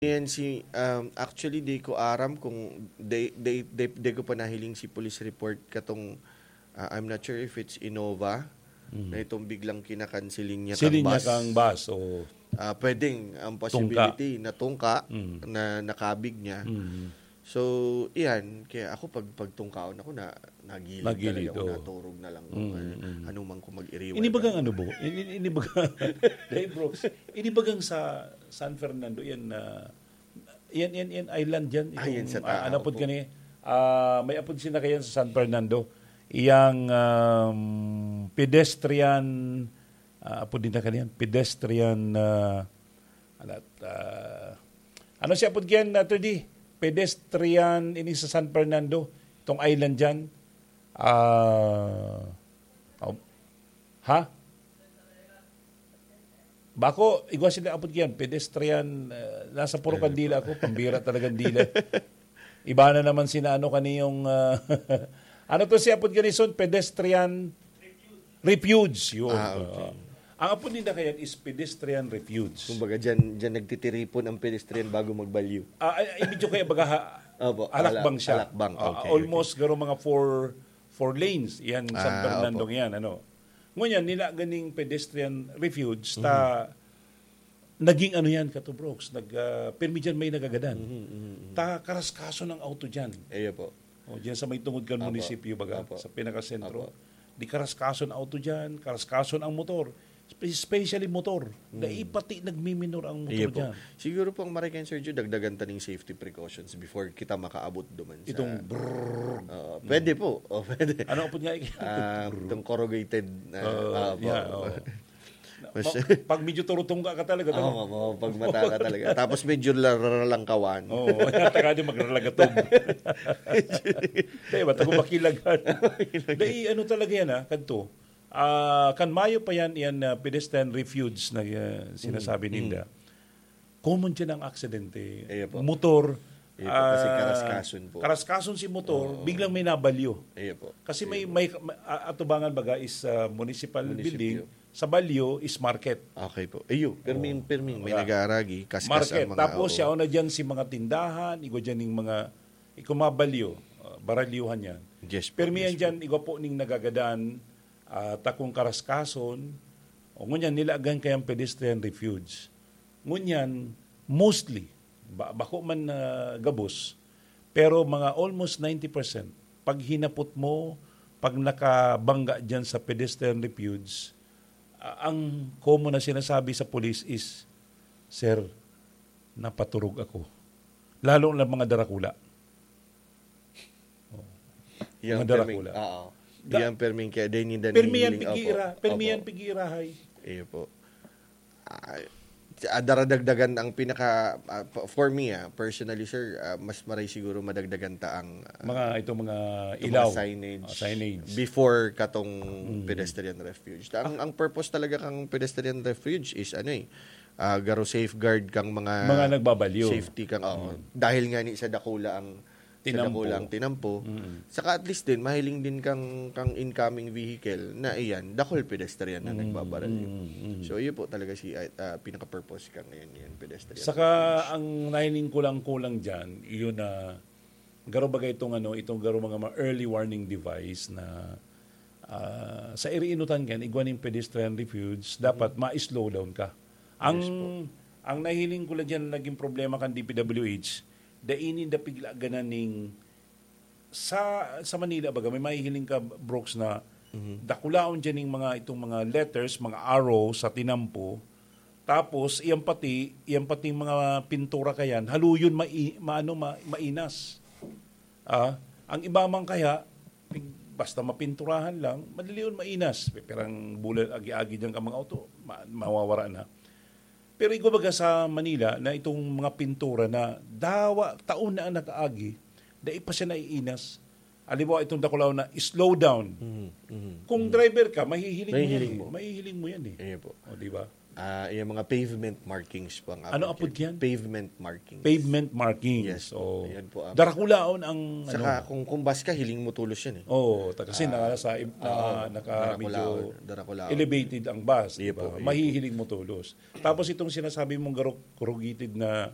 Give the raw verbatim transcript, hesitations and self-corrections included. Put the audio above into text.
Yan si, um, actually, di ko aram kung, di, di, di, di ko pa nahiling si police report katong, ah, I'm not sure if it's Innova, na itong biglang kinakansiling niya Siling niya kang bus. Kang bus, oo. Ah, pwedeng ang Tungka. Possibility na tungka, Mm. na nakabig niya. Mm. So, iyan, kaya ako pag, pag tungkaon ako na, nagilid Nagilid, talaga ako, oo. Naturog na lang ako. Mm, Ano, mm. Ano man kung mag-iriwal Ini bagang ka. Ano, bo? Ini, ini bagang, Dave Brooks, ini bagang sa San Fernando, yan na, yan, yan, yan, island yan. Ah, yan Itong, sa ah, tao ano apod po. Kani? Ah, may apod sinakayan sa San Fernando. Yang, um, pedestrian, ah, apod din na kaniyan, pedestrian, ah, ano, ah, ano siya apod kiyan, Attorney? Pedestrian ini sa San Fernando, itong island dyan. Ah, oh, ha? Bako, igwa sila apod kiyan, pedestrian, eh, nasa puro Ayun. Kandila ako, pambira talagang dila. Iba na naman sina ano kaniyong, ah, ano to si apod kanison? Pedestrian refuge, yun. Ah, okay. Ah, ang apod nila kaya is pedestrian refuge. Kumbaga, dyan, dyan nagtitiripon ang pedestrian bago magbalyo. Ah, ay, ay, medyo kaya baga ha-, Opo, halakbang ala-, siya. Halakbang, Ah, okay, almost okay. Garo mga four, four lanes. Yan, San Ah, Fernando opo. Yan, ano. Ngunyan, nila ganing pedestrian refuge, ta, Mhm. naging ano yan, Kato Brooks, nag, ah, pirmi dyan may nagagadan. Mhm, mhm, mhm. Ta, karaskaso ng auto dyan. Iyo po. O, dyan sa may tungod kan Apo. Munisipyo, baga, Apo. Sa pinakasentro. Apo. Di karaskason auto dyan, karaskason ang motor. Spe-, especially motor. Hmm. Dai pati nagmiminor ang motor Iyo po. Dyan. Siguro po ang Marikina, Sir Joe, dagdagan ta ning safety precautions before kita makaabot duman sa Itong brrrr. Oo, pwede po. O, pwede. Ano po nga? Ah, itong corrugated, ah, Oo, ah, po. Yeah, oo. Mas Ma-, pag medyo turutungga ka talaga, Oo, tama? ma-, ma-, pag mata ka talaga. Tapos medyo la-, raralangkawan. Oo, taka di magralagatog. Di ba? Tago makilagan. Dai, ano talaga yan, ah, kadto. Ah, kan mayo pa yan, yan, ah, pedestrian refuge na, ah, sinasabi Mm, ninda. mm. Common dyan ang aksidente. Iyo po. Motor, Iyo po, kasi ah, karaskason po. karaskason si motor, Oo. Biglang may nabalyo. Iyo po. Kasi may, Iyo po. may, may, ah, atubangan baga is, ah, municipal Munisipyo. Building, sa balyo is market. Okay po. Iyo, pirming, Oo. pirming, may Baga, nag-aaragi, kaskas market. Ang mga, Tapos, oo. Siya na dyan si mga tindahan, igwa dyan yung mga, ikumabalyo, ah, baralyuhan yan. Yes po, Pirmi yes yan po. Dyan, igwa po ning nagagadan, ah, takong karaskason, o ngunyan, nilagan kayang pedestrian refuge. Ngunyan, mostly, ba-, bako man na gabos, pero mga almost ninety percent, pag hinapot mo, pag nakabangga dyan sa pedestrian refuge, a-, ang common na sinasabi sa police is, "Sir, napaturog ako." Lalo na mga darakula. Oh. Yan, Mga darakula. Perming. Oo. Da- Yan, Perming, kaya din yung Permi yan, nahihiling, opo. Pigira. Permi Opo. Yan, Pigira, hay. Iyo po. Ah, ah, daradagdagan ang pinaka, ah, p-, for me, ah, personally, sir, ah, mas maray siguro madagdagan ta ang, ah, Mga, itong mga itong ilaw. Mga signage Ah, signage. Before katong Mm. pedestrian refuge. Ta-, ang, ang purpose talaga kang pedestrian refuge is ano eh, ah, garo safeguard kang mga Mga nagbabalyo. safety kang, oo. Mm. Dahil nga ni sa dakula ang, sa Tinampo. dakula ang tinampo. Mm. Saka at least din, mahiling din kang, kang incoming vehicle na iyan, dakul pedestrian na Mm, nagbabaralyo. mm, mm. So, iyo po talaga si, ah, ah, pinaka-purpose kang ngayon, ngayon, pedestrian Saka refuge. ang nahiling ko lang kulang dyan, yun na garo bagay itong ano, itong garo mga, mga early warning device na, ah, sa iriinutan kan, igwa ning pedestrian refuge, dapat Mm. ma-slow down ka. Ang, Yes po. ang nahiling ko lang dyan, naging problema kan D P W H, dai ninda pigla ganan ning sa, sa Manila, baga, may mahihiling ka, Brooks, na Mhm. dakulaon dyan yung mga, itong mga letters, mga arrow sa tinampo. Tapos, iyan pati, iyan pati yung mga pintura kayan, haluyon, mai-, maano, ma-, mainas. Ah, ang iba man kaya, pig-, basta mapinturahan lang, madali yun mainas. Pe-, perang bulan, agi-agi dyan ka mga auto, ma-, mawawara na. Pero igwa baga sa Manila na itong mga pintura na dawa, taon na ang nakaagi, dai pa siya naiinas. Halimbawa, itong dakulaw na slow down. Mhm, mhm, Kung mhm. driver ka, mahihiling mo yan Mahihiling eh. mo. Mahihiling mo yan eh. Ayun po. O, di ba? Ah, yung mga pavement markings po ang Ano awag apod dyan. Yan? Pavement markings. Pavement markings. Yes po. O. Ayan po ang Darakulaon ang Saka ano. kung, kung bus ka, hiling mo tulos yan eh. Oo, ta-, kasi Ah, nasa, na, oo, naka, darakulaon, medyo darakulaon. Elevated ang bus, Iya di ba? po, iya po. Mahihiling mo tulos. Tapos itong sinasabi mong garo-, corrugated na